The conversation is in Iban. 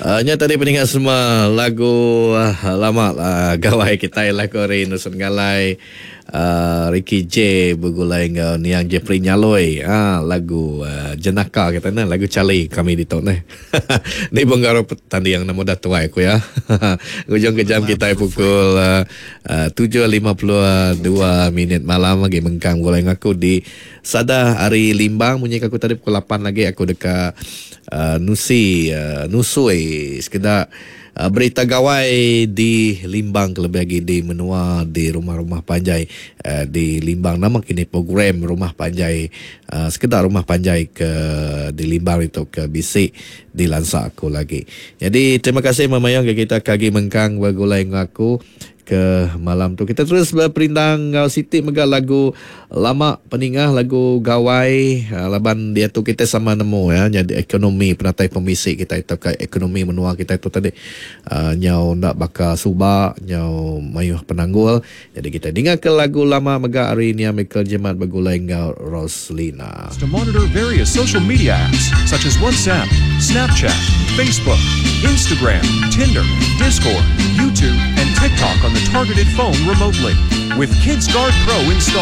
Uh, nya tadi peningat semua lagu uh, lama uh, gawai kita lagu hari Nusun Galai uh, Ricky J begulai enggau Niang Jeffrey Nyaloi uh, lagu uh, Jenaka kita nah lagu Charlie kami di tu nah ni benggaro tanding nama dah tuai aku ya ngujung ke jam kita pukul uh, uh, 7.52 minit malam lagi mengkang begulai aku di Sada ari Limbang munyi ke aku tadi pukul 8 lagi aku deka uh, nusi uh, nusui sekeda uh, berita gawai di Limbang kelebih agi di menua di rumah-rumah panjai uh, di Limbang nama kini program rumah panjai uh, sekeda rumah panjai ke di Limbang itu ke bisi dilansa aku lagi. Jadi terima kasih memayang ke kita ke agi mengkang begulai enggau aku ke malam tu. Kita terus berperindang enggau siti mega lagu lama peningah lagu gawai ah, laban diatu kita sama nemu ya jadi ekonomi penatai pemisi kita itu ke ekonomi menua kita itu tadi uh, nyau ndak baka suba nyau mayuh penanggul. Jadi kita dengar ke lagu lama mega hari ni Michael Jemat begulai enggau Roslina. To monitor various social media apps such as WhatsApp, Snapchat, Facebook, Instagram, Tinder, Discord, YouTube, and TikTok on the targeted phone remotely. With KidsGuard Pro installed.